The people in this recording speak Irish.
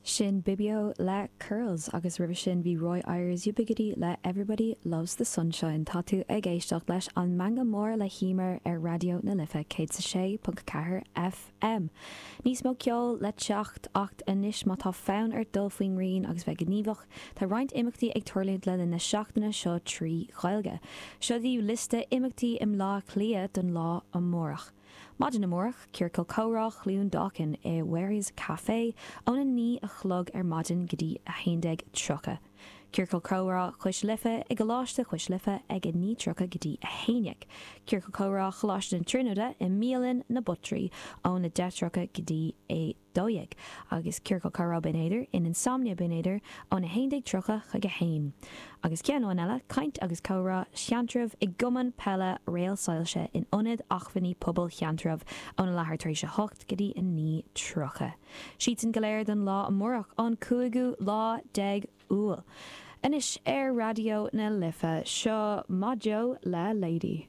Sin Bibio le Curls agus roimhe sin bhí Roy Ayers Ubiquity le Everybody Loves the Sunshine. Tá tú ag éisteacht leis An Meangadh Mór le hEmer ar Raidió na Life 106.4 FM. Níos mó ceoil le teacht ach anois má tá fonn ort dul faoin ngrian agus bheith gníomhach, tá roinnt imeachtaí ag tarlúint le linn na seachtaine seo trí Ghaeilge. Seo daoibh liosta imeachtaí i mBleá Cliath don lá amárach. Maidin amárach, Ciorcal Comhrá Chluain Dolcáin i Wherry's Café óna 9 a chlog ar maidin go dtí 11:30. Ciorcal Comhrá Chois Life i gColáiste Chois Life ag 9:30 go dtí 11. Ciorcal Comhrá Choláiste na Tríonóide i mBialann na Buttery óna 10:30 go dtí 12, agus Ciorcal Comhrá Binn Éadair in Insomnia Binn Éadair óna 11:30 chuig 1. Agus ceann amháin eile, Caint agus Comhrá Sheantraibh i gCumann Peile Réal Soilse in Ionad Acmhainní Pobail Sheantraibh óna leathuair tar éis 8 go dtí 9:30. Siadsan go léir don lá amárach, an cúigiú lá déag Iúil. Anois ar Raidió na Life, seo Modjo le Lady.